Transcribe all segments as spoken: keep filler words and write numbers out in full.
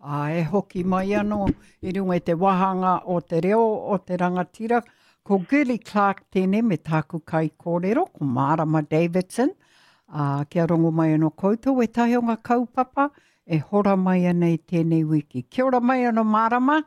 Ā, e hoki mai anō i runga i te wāhanga o te reo o te rangatira, ko Girlie Clarke tēnei me tāku kaikōrero, ko Mārama Davidson. Ā, kia rongo mai anō koutou ētahi o ngā kaupapa e hora mai ana i tēnei wiki. Kia ora mai anō Mārama.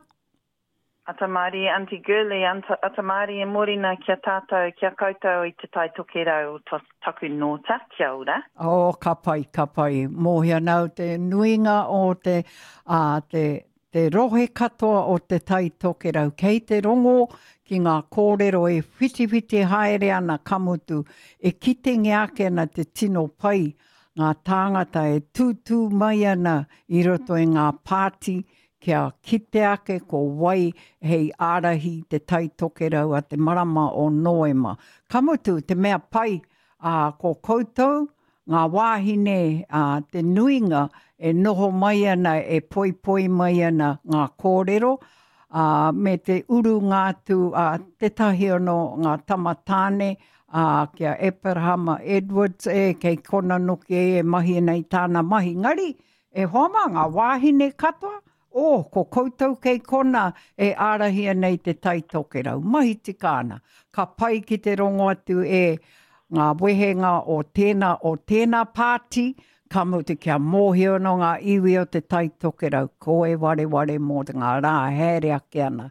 Ata mārie, Aunty Girlie, ata mārie mōrena ki a tātou, ki a koutou i Te Tai Tokerau o taku nōta, kia ora. Oh, ka pai, ka pai. Mōhio ana au te nuinga o te, ā, te, te rohe katoa o Te Tai Tokerau. Kei te rongo ki ngā kōrero e whitiwhiti haere ana, ka mutu, e kitengia ake ana te tino pai ngā tāngata e tūtū mai ana i roto i ngā pāti kia kite ake ko wai hei ārahi i Te Tai Tokerau a te marama o Nōema. Ka mutu, te mea pai, ā, ko koutou, ngā wāhine, ā, te nuinga e noho mai ana, e poipoi mai ana ngā kōrero, ā, me te urunga atu a tētahi anō ngā tama tāne, ā, ki a Aperahama Edwards, e, kei kona noki e e mahi ana i tāna mahi. Ngari, e hoa mā, ngā wāhine katoa, Oh, ko koutou kei kona e ārahi ana i Te Tai Tokerau. Mahi tika ana. Ka pai ki te rongo atu e ngā wehenga o tēnā, o tēnā pāti, ka mutu kia mōhio anō ngā iwi o Te Tai Tokerau, ko e wareware mō ngā rā haere ake ana.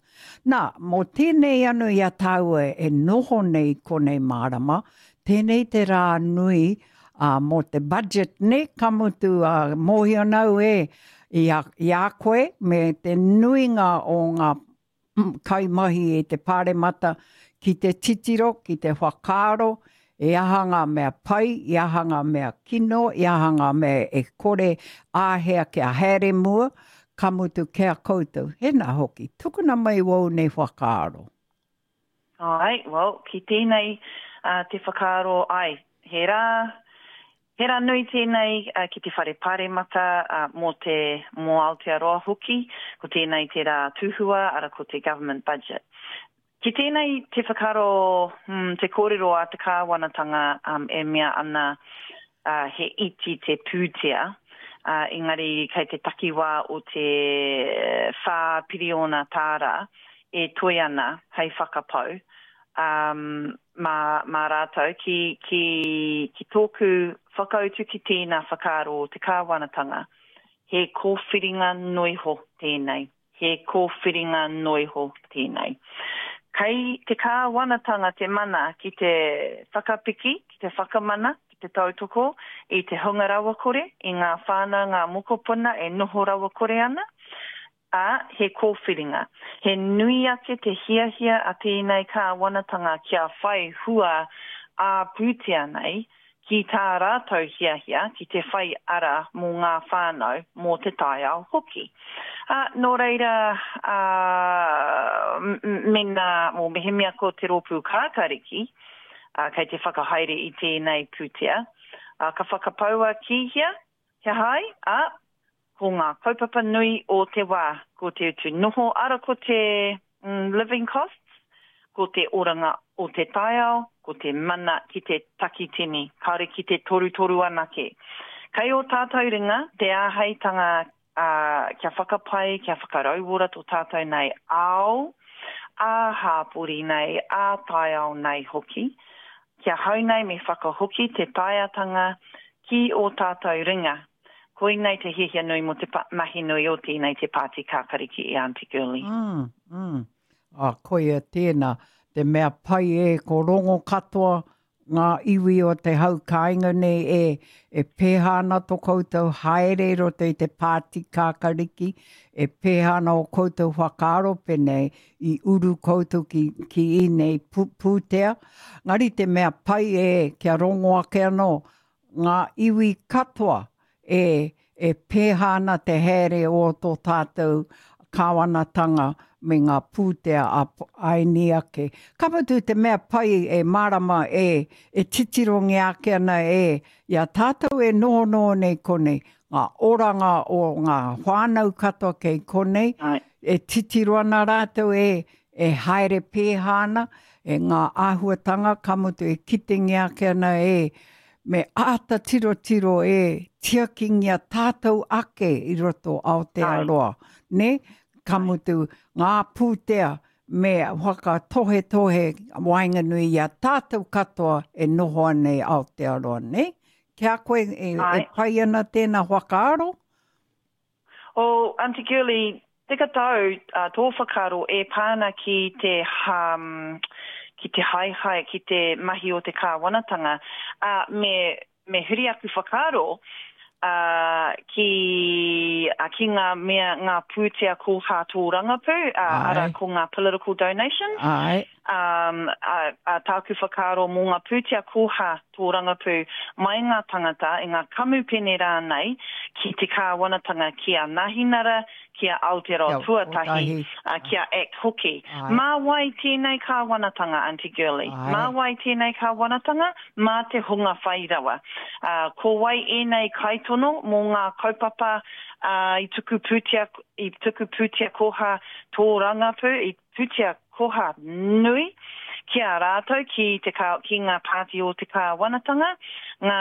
Nā, mō tēnei anō i a tāua e noho nei konei mārama, tēnei te rā nui ā, mō te budget, nē, ka mutu, ā, mōhio ana au e, i a, i a koe me te nuinga o ngā kaimahi i te Pāremata ki te titiro, ki te whakaaro, e aha ngā mea pai, i aha ngā mea kino, i aha ngā mea e kore āhea kia haere mua, ka mutu ki a koutou. Hēnā hoki, tukuna mai wōu nei whakaaro. Āe, well, ki tēnei uh, te whakaaro, ai, he rā, he rā nui tēnei uh, ki te whare paremata uh, mō te, mō Aotearoa hoki, ko tēnei te rā tuhua, ara ko te government budget. Ki tēnei te whakaaro, hmm, te kōrero a te kāwanatanga um, e mea ana uh, he iti te pūtea, uh, engari kei te takiwā o te whā piriona tāra e toe ana hei whakapau um, mā, mā rātou ki, ki, ki tōku whakautu ki tēnā whakaaro o te kāwanatanga. He kōwhiringa noiho tēnei. He kōwhiringa noiho tēnei. Kei te kāwanatanga te mana ki te whakapiki, ki te whakamana, ki te tautoko i te hunga rawakore, i ngā whānau, ngā mokopuna e noho rawakore ana, ā, he kōwhiringa. He nui ake te hiahia a tēnei kāwanatanga kia whai hua ā-pūtea nei ki tā rātou hiahia ki te whai ara mō ngā whānau, mō te taiao hoki. Ā, nō reira, ā, mēnā, mō mehemea ko te rōpū kākariki, ā, kei te whakahaere i tēnei pūtea, ā, ka whakapaua ki hea, he hai, ā, ko ngā kaupapa nui o te wā, ko te utu noho, ara ko te mm, living costs, ko te oranga o te taiao, ko te mana ki te takitini, kāore ki te torutoru anake. Kei ō tātou ringa te āheitanga uh, kia whakapai, kia whakarauora tō tātou nei ao, ā-hāpori nei, ā-taiao nei hoki. Kia hau nei me whakahoki te taeatanga ki ō tātou ringa. Koinei te hiahia nui mō te mahi nui o tēnei te Pāti Kākariki i Aunty Girlie. Mm, mm. Ah, koia tēnā, te mea pai e, ko rongo katoa ngā iwi o te hau kāinga nei e, e pēhā ana tō koutou haere i roto i te Pāti Kākariki, e pēhā ana o koutou whakaaro pēnei i uru koutou ki, ki ēnei pū, pūtea. Ngari te mea pai e, kia rongo ake anō, ngā iwi katoa e, e pēhā ana te haere o tō tātou kāwanatanga me ngā pūtea a aini ake. Ka mutu te mea pai e mārama e, e titirongia ake ana e, i a tātou e nohonoho nei konei, ngā oranga o ngā whānau katoa kei konei, Ai. e titiro ana rātou e, e haere pēhā ana, e ngā āhuatanga, ka mutu e kitengia ake ana e, Me āta tirotiro e tiakingia tātou ake i roto Aotearoa. Ne? Ka mutu ngā pūtea me whakatohetohe waenganui i a tātou katoa e noho ana i Aotearoa, ne? Ki a koe e, e pai ana tēnā whakaaro? O, Aunty Girlie, tika tau uh, tō whakaaro e pā ana ki te um, ki te haehae, ki te mahi o te kāwanatanga, uh, me, me huri aku whakaaro uh, ki, uh, ki ngā mea, ngā pūtea koha tōrangapū, uh, ara ko ngā political donations. Ai. Um, a, a tāku whakaaro mō ngā pūtea koha tōrangapū mai ngā tangata i ngā kamupene rānei ki te kāwanatanga ki a Nahinara, ki a Aotearoa Tuatahi, uh, ki a ACT hoki. Ai. Mā wai tēnei kāwanatanga, Aunty Girlie? Ai. Mā wai tēnei kāwanatanga? Mā te hunga whai rawa. Uh, ko wai ēnei kaitono mō ngā kaupapa uh, i tuku pūtea, i tuku pūtea koha tōrangapū, i pūtea koha nui ki a rātou, ki, te ka, ki ngā pāti o te kāwanatanga, ngā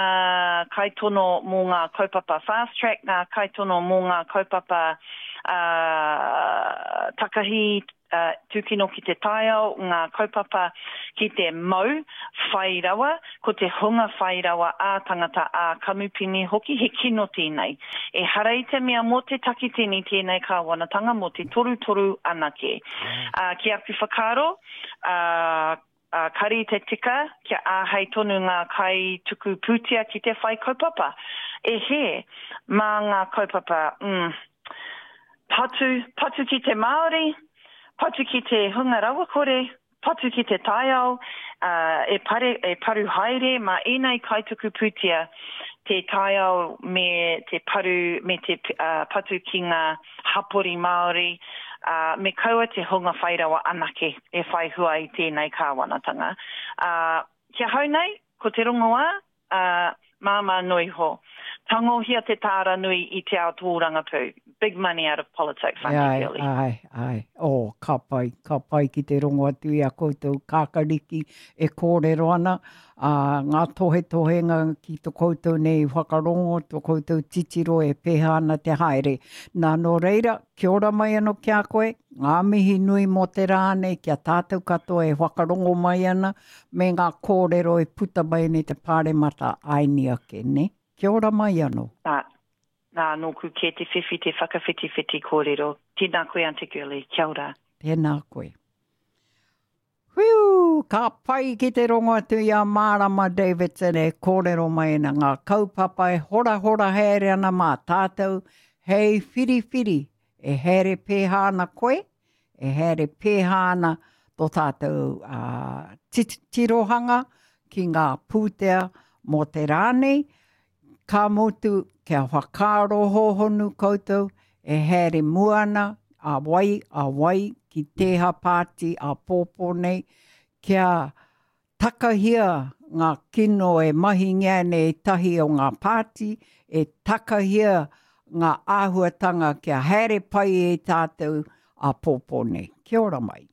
kaitono mō ngā kaupapa fast track, ngā kaitono mō ngā kaupapa uh, takahi uh, tūkino ki te taiao, ngā kaupapa ki te mau whai rawa, ko te hunga whai rawa ā tangata ā kamupene hoki, he kino tēnei. E hara i te mea mō te takitini tēnei kāwanatanga, mō te torutoru anake. Uh, ki aku whakaaro, uh, uh, kari te tika kia āhei tonu ngā kai tuku pūtea ki te whai kaupapa. E he, mā ngā kaupapa, mm, patu, patu ki te Māori, patu ki te hunga rawakore, patu ki te taiao, uh, e, pare, e paru haere mā ēnei kaituku pūtea te taiao me te paru, me te uh, patu ki ngā hapori Māori, uh, me kaua te hunga whairawa anake e whai hua i tēnei kāwanatanga. Uh, kia hau nei, ko te rongoā, uh, māmā noi ho. Tangohia te tāra nui i te ao tōrangapū. Big money out of politics, Aunty Ai, Girlie. ai, ai. Oh, ka pai, ka pai ki te rongo atu i a koutou kākariki e kōrero ana, uh, ngā tohetohenga ki to koutou nei whakarongo, to koutou titiro e pēhea ana te haere. Nā nō reira, kia ora mai anō ki a koe, ngā mihi nui mō te rā nei, kia tātou katoa e whakarongo mai ana, me ngā kōrero e puta mai nei te pāremata aini ake, ne? Kia ora mai anō. Nā, nā, nōku kē te whiwhi te whakawhitiwhiti kōrero. Tēnā koe, Aunty Girlie. Kia ora. Tēnā koe. Whiu, ka pai ki te rongo atu i a Marama Davidson e kōrero mai ana ngā kaupapa e horahora haere ana mā tātou hei whiriwhiri e haere pēhā ana koe, e haere pēhā ana tō tātou uh, tirohanga ki ngā pūtea mō te rā nei, ka mutu kia whakaaro hōhonu koutou e haere mua ana a wai, a wai ki tēha pāti a pōpō nei, kia takahia ngā kino e mahingia nei tahi o ngā pāti, e takahia ngā āhuatanga kia haere pai e tātou a pōpō nei. Kia ora mai.